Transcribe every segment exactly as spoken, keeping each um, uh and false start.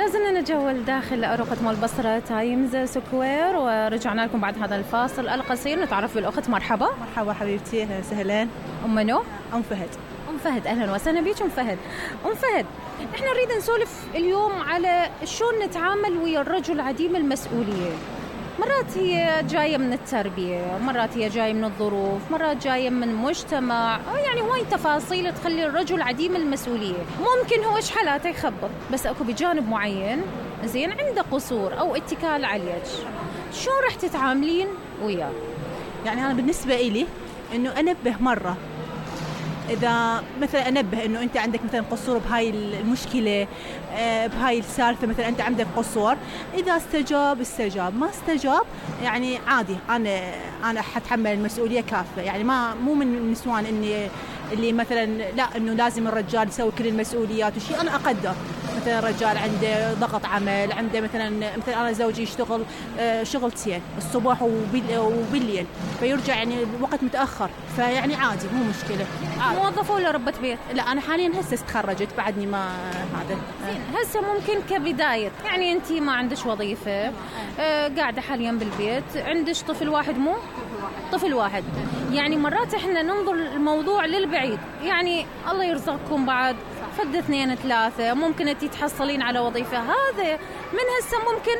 لازلنا نتجول داخل أروقة مول بصرة تايمز سكوير، ورجعنا لكم بعد هذا الفاصل القصير نتعرف بالأخت. مرحبا. مرحبا حبيبتي، أهلا وسهلا. أم منو؟ أم فهد. أم فهد، أهلا وسهلا بيك أم فهد. أم فهد، إحنا نريد نسولف اليوم على شلون نتعامل ويا الرجل عديم المسؤولية. مرات هي جاية من التربية، مرات هي جاية من الظروف، مرات جاية من مجتمع، يعني هواي تفاصيل تخلي الرجل عديم المسؤولية. ممكن هو إيش حالاته يخبط، بس أكو بجانب معين زين عنده قصور أو اتكال عليك، شو رح تتعاملين وياه؟ يعني أنا بالنسبة إلي إنه أنبه مرة، إذا مثلا أنبه إنه أنت عندك مثلا قصور بهاي المشكلة، بهاي السالفة، مثلا أنت عندك قصور، إذا استجاب استجاب، ما استجاب يعني عادي، أنا أنا حتحمل المسؤولية كافة. يعني ما مو من النسوان إني اللي مثلا لا إنه لازم الرجال يسوي كل المسؤوليات وشيء. أنا أقدر مثلا الرجال عنده ضغط عمل، عنده مثلا مثلا أنا زوجي يشتغل شغلتين الصبح وبالليل، فيرجع يعني الوقت متأخر، فيعني عادي مو مشكلة. موظفة ولا ربة بيت؟ لا أنا حاليا هسه تخرجت، بعدني ما هذا. هسه ممكن كبداية يعني أنت ما عندش وظيفة، آه قاعدة حاليا بالبيت، عندش طفل واحد، مو طفل واحد. يعني مرات إحنا ننظر الموضوع للبعيد، يعني الله يرزقكم بعد فد اثنين ثلاثة، ممكن أنت تحصلين على وظيفة. هذا من هسه ممكن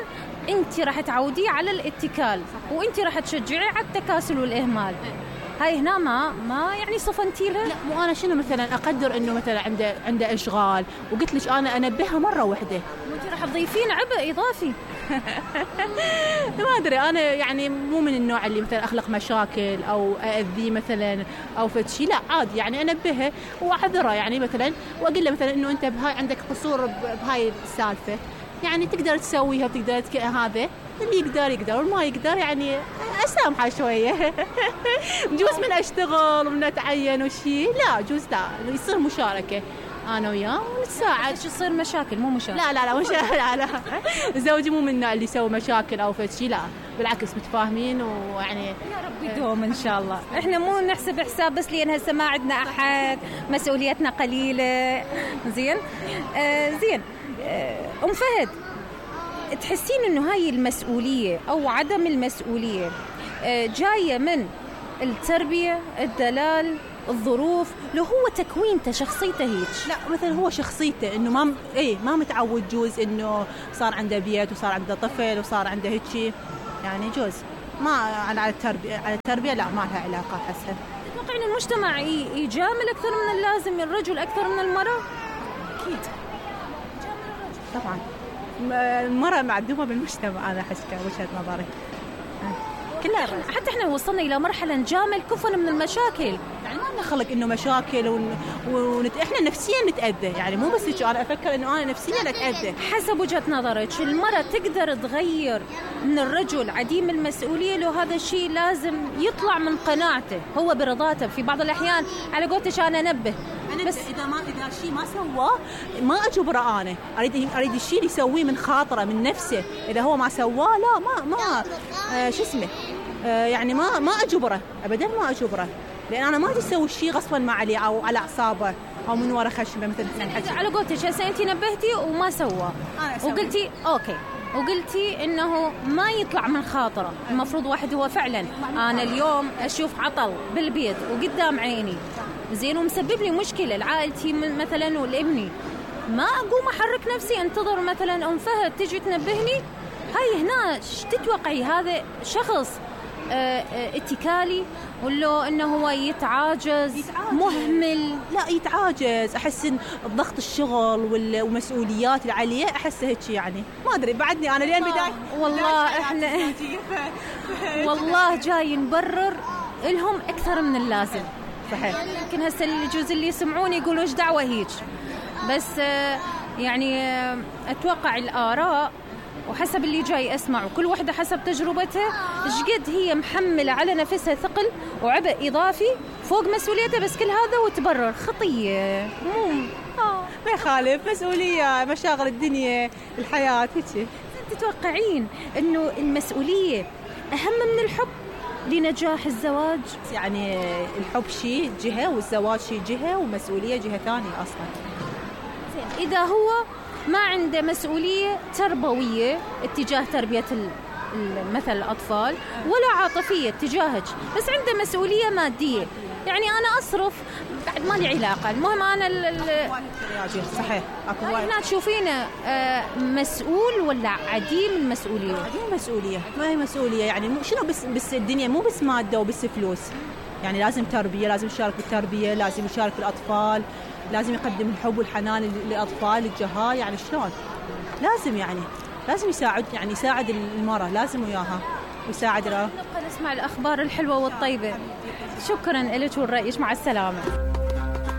أنت راح تعوديه على الاتكال، وأنت راح تشجعيه على التكاسل والإهمال. هاي هنا ما ما يعني صفنتي له. لا مو أنا شنو مثلا أقدر إنه مثلا عنده عنده إشغال، وقلت لك أنا أنبهها مرة واحدة، وأنت راح تضيفين عبء إضافي. ما أدري، أنا يعني مو من النوع اللي مثلا أخلق مشاكل أو أأذيه مثلا أو فتشي، لا عادي يعني أنبهه وأعذره، يعني مثلا وأقول له مثلا إنه أنت بهاي عندك قصور بهاي السالفة، يعني تقدر تسويها وتقدر تك... هذا اللي يقدر يقدر، والما يقدر يعني أسامحه شوية. جوز من أشتغل ومن أتعين وشي، لا جوز لا يصير مشاركة أنا وياه ونتساعد. شو يصير مشاكل مو مشاكل؟ لا لا لا مش لا لا زوجي مو من النوع اللي يسوي مشاكل أو فتشي، لا بالعكس متفاهمين، ويعني يا رب يدوم إن شاء الله. إحنا مو نحسب حساب بس لأن هسه ما عندنا أحد، مسؤوليتنا قليلة. زين آه زين آه أم فهد، تحسين إنه هاي المسؤولية أو عدم المسؤولية آه جاية من التربية، الدلال، الظروف، لو هو تكوينته شخصيته هيك؟ لا مثلا هو شخصيته انه ما ايه ما متعود، جوز انه صار عنده بيت وصار عنده طفل وصار عنده هيك، يعني جوز ما على التربيه على التربيه لا ما لها علاقه. حسن تتوقعين المجتمع يجامل اكثر من اللازم الرجل اكثر من المراه؟ اكيد طبعا المراه معدومه بالمجتمع، انا حسب وجهه نظري كلها. حتى احنا وصلنا الى مرحله نجامل كفن من المشاكل، يعني ما نخلق انه مشاكل ون... ونت... احنا نفسيا نتاذى، يعني مو بس هيك انا افكر انه انا نفسيا اتاذى. حسب وجهه نظرك المراه تقدر تغير من الرجل عديم المسؤوليه لو هذا الشيء لازم يطلع من قناعته هو برضاته؟ في بعض الاحيان على قولتك انا انبه، بس اذا ما اذا شيء ما سواه ما اجبره، انا اريد اريد الشيء اللي يسويه من خاطره من نفسه، اذا هو ما سواه لا ما ما آه شو اسمه آه يعني ما ما اجبره ابدا، ما اجبره، لان انا ما ادري اسوي الشيء غصبا ما عليه او على اعصابه او من وراء خشمه مثل. على قولتك هسه انت نبهتي وما سواه وقلتي اوكي، وقلتي انه ما يطلع من خاطره، المفروض واحد هو فعلا انا اليوم اشوف عطل بالبيت وقدام عيني زين ومسبب لي مشكله لعائلتي مثلا والابني، ما اقوم احرك نفسي انتظر مثلا ام فهد تجي تنبهني. هاي هنا تتوقعي هذا شخص اه اه اتكالي ولا انه هو يتعاجز, يتعاجز مهمل؟ لا يتعاجز، احس ان الضغط الشغل والمسؤوليات اللي عليه احس هيك، يعني ما ادري بعدني انا لين بدايه والله احنا والله جاي نبرر لهم اكثر من اللازم. صحيح. يمكن هسه الجزء اللي يسمعوني يقولوا ايش دعوه هيك، بس يعني اتوقع الاراء وحسب اللي جاي أسمع وكل واحدة حسب تجربتها إيش قد هي محملة على نفسها ثقل وعبء إضافي فوق مسؤوليتها، بس كل هذا وتبرر خطية. مو آه ما يخالف، مسؤولية، مشاغل الدنيا، الحياة هيك. تتوقعين إنه المسؤولية أهم من الحب لنجاح الزواج؟ يعني الحب شيء جهة والزواج شيء جهة ومسؤولية جهة ثانية أصلا. إذا هو ما عنده مسؤولية تربوية اتجاه تربية مثل الأطفال ولا عاطفية تجاهك، بس عنده مسؤولية مادية. يعني أنا أصرف بعد ما لي علاقة، المهم أنا صحيح. أكو هنا تشوفينه مسؤول ولا عديم المسؤولية؟ عديم المسؤولية، ما هي مسؤولية يعني شنو بس بس الدنيا مو بس مادة وبس فلوس، يعني لازم تربية، لازم يشارك بالتربية، لازم يشارك بالأطفال، لازم يقدم الحب والحنان للأطفال الجهال، يعني شلون لازم يعني لازم يساعد يعني يساعد المرأة، لازم وياها ويساعد. نبقى نسمع الأخبار الحلوة والطيبة. شكرا لك ورأيك، مع السلامة.